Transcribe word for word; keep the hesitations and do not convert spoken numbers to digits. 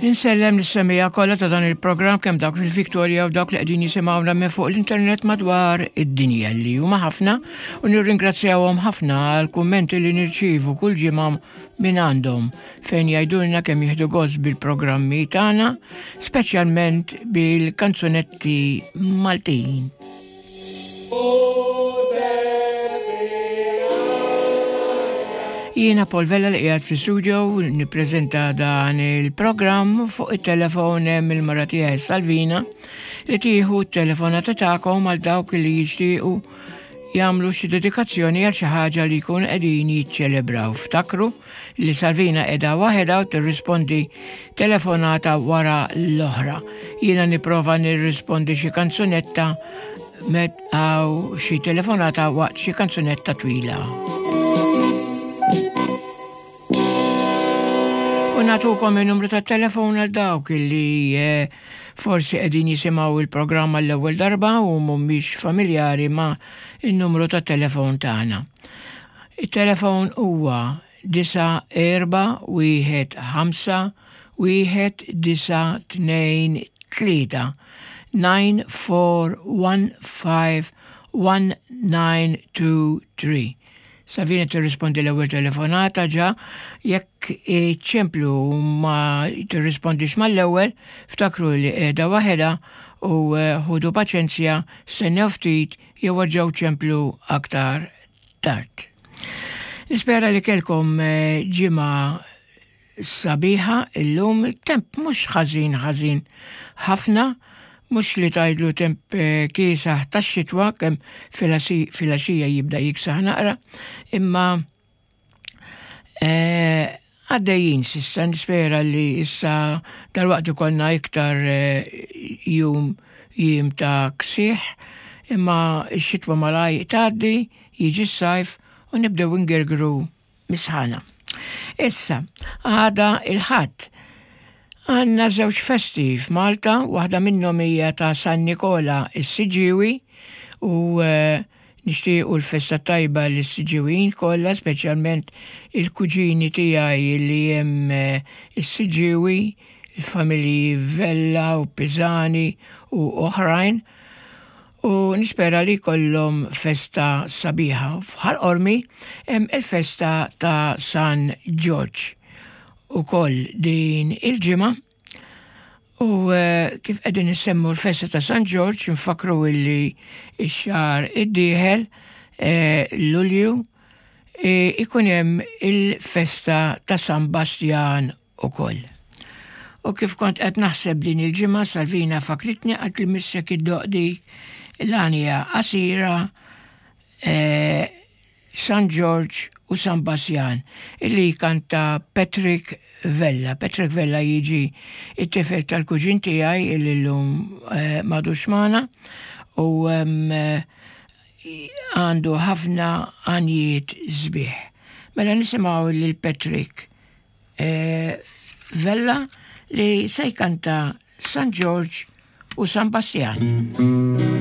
Insellem lis-semmiegħa kollha ta' dan il-programm, kemm dawk fil-Victoria u dawk li qegħdin jisimgħuna minn fuq l-internet madwar id-dinja, li huma ħafna, u nirringrazzjawhom ħafna għal kummenti li nirċievu kull ġimgħa minn għandhom, fejn jgħidulna kemm jieħdu gost bil-programmi tagħna, speċjalment bil-kanzunetti Maltin. Jiena Paul Vella li qiegħed fi studio nippreżenta dan il-programm. Fuq it-telefon hemm il-mara tiegħi Salvina, li tieħu t-telefonata tagħkom għal dawk li jixtiequ jagħmlu xi dedikazzjoni għal xi ħaġa li jkunu qegħdin jiċċelebraw. Ftakru li Salvina qiegħda waħedha u tirrispondi telefonata wara l-oħra. Jiena nipprova nirrispondi xi kanzunetta met għaw xi telefonata waqt xi kanzunetta twila. U nagħtukom il-numru ta' telefon għal dawk li eh, forsi qegħdin jisimgħu il-programm l-ewwel darba u mhumiex familjari ma' il-numru ta' telefon tagħna. Il-telefon huwa disa erba wieħed ħamsa wieħed disa tnejn tlieta, nine four one five one nine two three. Salvina tirrispondi l-ewwel telefonata ġa. Jekk ċemplu ma tirrispondix mal-ewwel, ftakru li qiegħda waħedha u eh, ħudu paċenzja, stennew ftit jew erġgħu ċemplu aktar tard. Nispera li kellkom eh, ġimgħa sabiħa. Illum temp mhux ħażin ħażin ħafna, mhux li tgħidlu temp eh, kiesaħ tax-xitwa, kemm filgħaxija jibda jiksaħ naqra, imma eh, għaddejjin s'issa. Nispera li issa dalwaqt ikollna iktar eh, jum jiem ta' ksieħ, imma x-xitwa malaj tgħaddi, jiġi s-sajf u nibdew ingergru mis-sħana. Issa, għada il-Ħadd għandna żewġ festi f'Malta, waħda minnhom hija ta' San Nikola is-Siġġiewi u eh, nixtiequ l-festa tajba lis-Siġġiwin kollha, speċjalment il-kuġini tiegħi li hemm eh, is-Siġġiewi, il-familji Vella u Pisani u oħrajn. U nispera li kollhom festa sabiħa. F'Ħal Qormi hemm il-festa ta' San Ġorġ ukoll din il-ġimgħa. U eh, kif qegħdin nisemmu l-festa ta' San Ġorġ, nfakru illi x-xahar id-dieħel, eh, Lulju, eh, ikun hemm il-festa ta' San Bastjan ukoll. U kif kont qed naħseb din il-ġimgħa, Salvina fakritni, għat li missek iddoqq dik l-għanja qasira eh, San George u San Basjan, illi kanta Patrick Vella. Patrick Vella jiġi it-tifel tal-kuġin tiegħi illi llum eh, m'għadux magħna u em, eh, għandu ħafna għanjiet sbieħ. Mela nisimgħu lil Patrick eh, Vella li se jkanta San George u San Bastian.